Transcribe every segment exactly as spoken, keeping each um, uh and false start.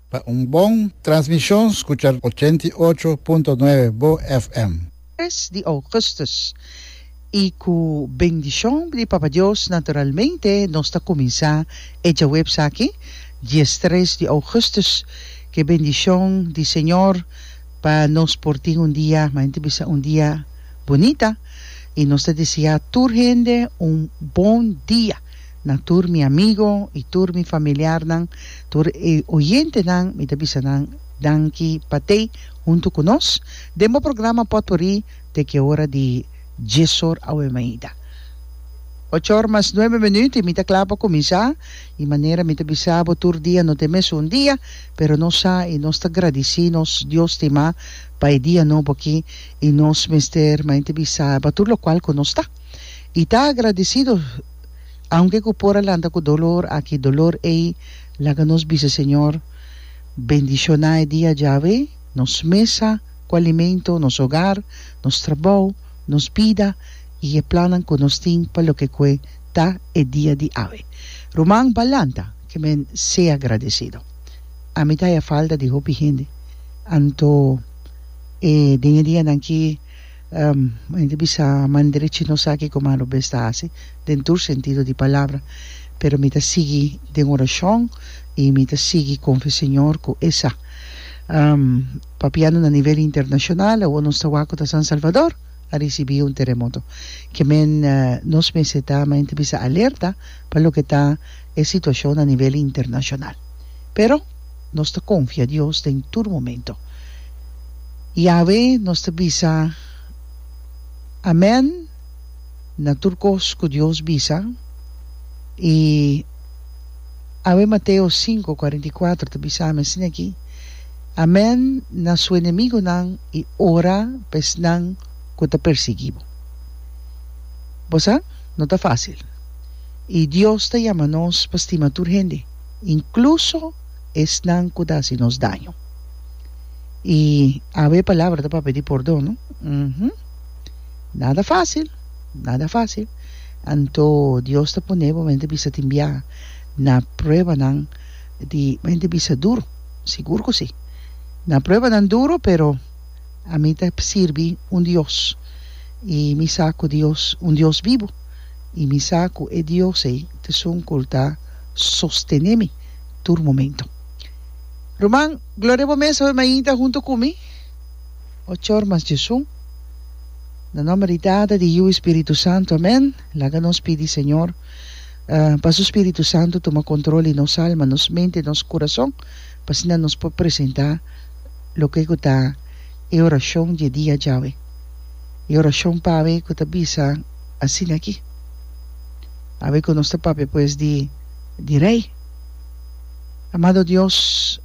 Pa un bon transmishon skucha ochenta i ocho punto nuebe Bo F M. Tres di augustus y cu bendicion di Papa Dios naturalmente nos ta cuminsa e djaweps aki diestres di augustus. Cu bendicion di Señor pa nos por tin un dia, ma hende bisa, un dia bunita, y nos ta desea tur hende un bon dia. Na tur mi amigo y tur mi familiarnan, tur e oyentenan, mi ta bisa nan danki pa tei hunto cu nos den bo programa Potpourri te cu ora di diesor awe mainta. Ocho or mas nuebe minuut y mi ta cla pa cuminsa, y manera mi ta bisa bo, tur dia no ta mesun dia, pero nos sa y nos ta gradici nos Dios stima pa e dia nobo aki, y nos mester mainta bisa pa tur locual cu nos ta. Y ta agradecido, aunke cu por a lanta cu dolor aki, dolor ey, laga nos bisa Señor bendiciona e dia djawe, nos mesa cu alimento, nos hogar, nos trabou, nos bida y e plannan cu nos tin pa loke cu ta e dia di awe. Ruman, bo a lanta, ke men sea agradecido. Ami ta haya falta di hopi hende. Anto e den e dianan aki um, hende bisa man derechi no sa kico man robes ta haci den tur sentido di palabra, pero mi ta sigui den oracion y mi ta sigui confia Señor cu e sa. Um, papiando na nivel internacional, awo nos ta wak cu ta San Salvador a ricibi un teremoto. Ke men uh, nos mester ta mainta bisa alerta pa loke ta e situacion a nivel internacional. Pero nos ta confia Dios den tur momento. Y awe nos ta bisa amen na tur cos cu Dios bisa, y awe Mateo sinku kuarenta i kuater ta bisa mi asina aki: "Amen na su enemigonan y ora pa esnan cu ta persigui bo." Bo sa, no ta facil. Y Dios ta yama nos pa stima tur hende, incluso esnan cu ta haci nos daño. Y awe palabra ta pa pidi pordon, no? Uhum. Nada facil, nada facil. Anto Dios ta pone bo mente bisa tin bia na pruebanan di mente bisa duro, sigur cu si. Na pruebanan duro, pero ami ta sirbi un Dios. Y mi sa cu Dios, un Dios bibo. Y mi sa cu e Dios ey ta esun cu ta sostene mi tur momento. Ruman, gloria bo mes awe mainta hunto cu mi. Ocho or mas diesun. Na nomber di Tata, di Yiu y Spirito Santo. Amen. Laga nos pidi Señor uh, pa su Spirito Santo tuma control di nos alma, nos mente, nos curason, pa asina nos por presenta loke ta e oracion di dia djawe. E oracion pa awe cu ta bisa asina aki. Awe cu nos ta papia pues di, di rey. Amado Dios,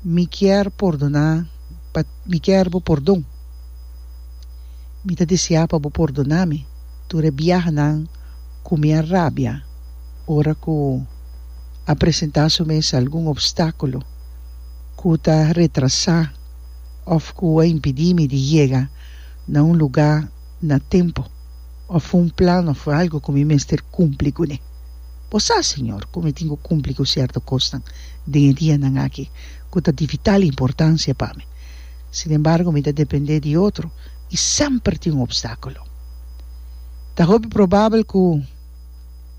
mi kier pordona, pa, mi kier bo pordon. Mi ta desea pa bo pordona mi tur e biahanan cu mi a rabia ora cu a presenta su mes algun obstaculo cu ta retrasa of cu a impedi mi di yega na un lugar na tempo of un plan of algo cu mi mester cumpli cune. Bo sa, Señor, cu mi tin cu cumpli cu cierto cosnan den dianan aki cu ta di vital importancia pa mi. Sin embargo, mi ta depende di otro y semper tin un obstaculo. Ta hopi probabel cu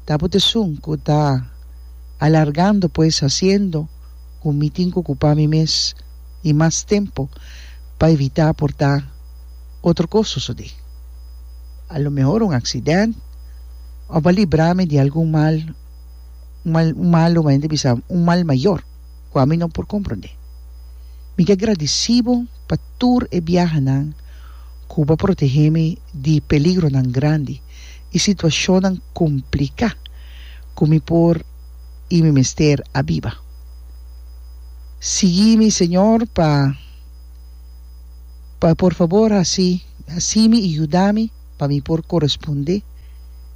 ta bo ta esun cu ta alargando, pues haciendo cu mi tin cu ocupa mi mes y mas tempo pa evita por ta otro cos sucede. A lo mehor un accidente of pa libra mi di algun mal, un mal, un malo, ma bisa, un mal mayor, cu ami no por comprende. Mi ta agradecido pa tur e biahanan cu bo a protege mi di peligronan grandi y situacionnan complica cu mi por y mi mester a biba. Sigui mi, Señor, pa pa por fabor haci, haci mi y yuda mi pa mi por coresponde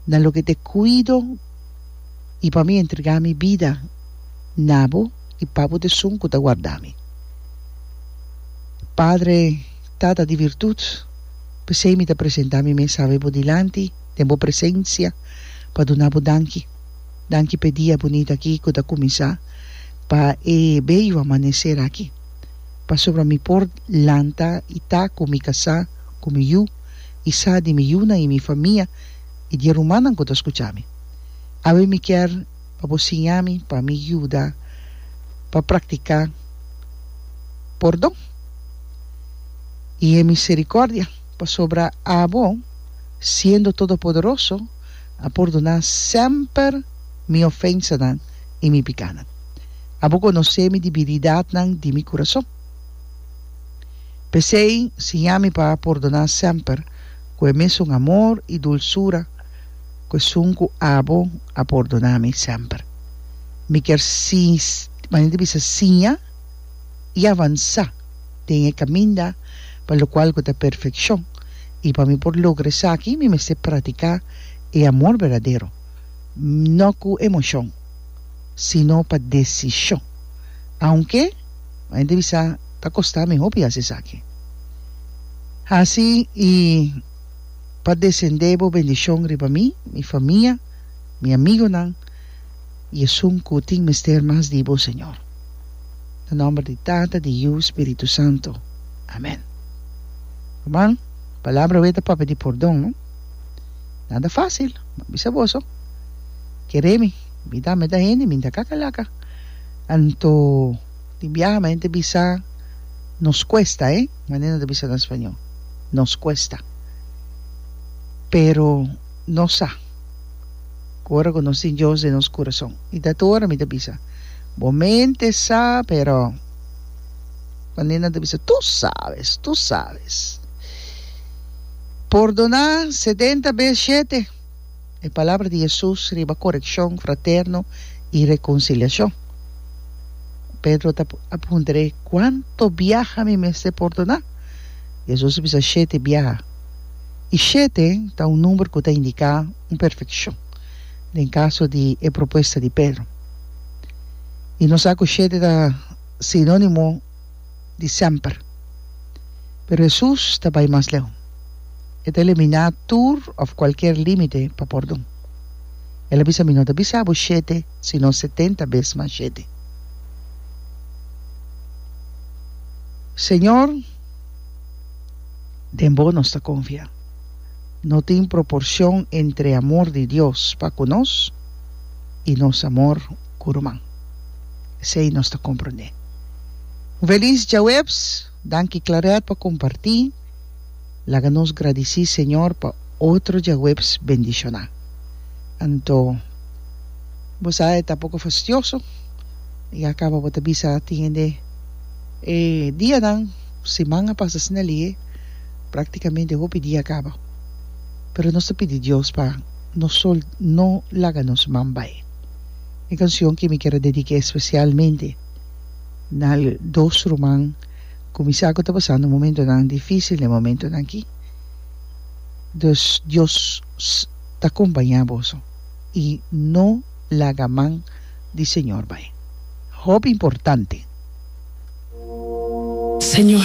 na loke ta cuido y pa mi entrega mi bida na bo y pa bo ta esun cu ta warda mi. Padre, Tata di virtud, p'esey mi ta presenta mi mes awe bo dilanti, den bo presencia, pa duna bo danki. Danki pa e dia bunita aki cu ta cuminsa. Pa e beyo amaneser aki. Pasobra mi por lanta i ta ku mi kasá, ku mi yu, i sa di mi yunan i mi famia i di e rumannan ku ta skucha mi. Awe mi kier pa bo siña mi pa mi yuda pa praktiká pordon i e miserikòrdia, pasobra abo, siendo Todopoderoso, a pordoná semper mi ofensanan i mi pikánan. Abo konosé mi debilidatnan di mi kurason. P'esei, siña mi pa pordoná semper ku e mesun amor i dulsura ku esun ku abo a pordoná mi semper. Mi kier manera di bisa siña i avansá den e kaminda pa lokual ku ta perfekshon, i pa mi por logra esaki mi mester pratiká e amor berdadero, no ku emoshon, sino pa desishon. Aunke, manera di bisa, ta kosta mi hopi hasi esaki. Hasi i pa desendé bo bendishon riba mi, mi famia, mi amigonan i esun ku tin mester mas di bo, Señor. Na nòmber di Tata, di Yu, Spiritu Santu. Amèn. Ruman, palabra awe ta papia di pordon, no? Nada fásil, mi a bisa boso. Kere mi, mi ta meta hende, mi ta kakalaka. Anto, tin biaha mi hende bisa, nos kuesta, eh, manera nan ta bisa na spañó, nos kuesta. Pero nos sa ku ora ku nos tin Dios den nos kurason, i ta tur ora mi ta bisa, bo mente sa, pero manera nan ta bisa, tu sabes, tu sabes. Pordoná setenta bes shete, e palabra di Hesus riba korekshon fraterno i rekonsiliashon. Pedro ta a puntr'é, Kuantu biaha mi mester pordoná? Hesus a bisa, Shete biaha. I shete ta un number ku ta indiká un perfekshon den kaso di e propuesta di Pedro. I nos sa ku shete ta sinónimo di semper. Pero Hesus ta bai mas leu. E ta eliminá tur òf kualkier límite pa pordon. El a bisa, Mi no ta bisa bo shete, sino setenta bes mas shete. Señor, den bo nos ta konfia. No tin proporshon entre amor di Dios pa ku nos i nos amor ku ruman. Esei nos ta komprondé. Un felis djaweps! Danki Claret pa kompartí. Laga nos gradisí Señor pa otro djaweps bendishoná. Anto bo sa e ta poko fastioso i a kaba bo ta bisa tin hende e dianan siman a pasa asina lihe praktikamente hopi dia a kaba pero nos ta pidi Dios pa no sol no laga nos man bai. E kansion ki mi kier a dedik'é espesialmente na dos ruman ku mi sa ku ta pasando momentonan difísil den momentonan aki. Dus Dios ta kompañá boso i no laga man di Señor bai. Hopi importante. Señor.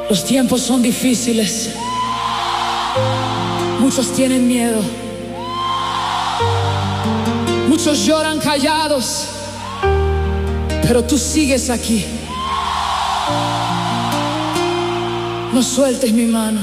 Los tiempos son difíciles. Muchos tienen miedo. Muchos lloran callados. Pero tú sigues aquí. No sueltes mi mano.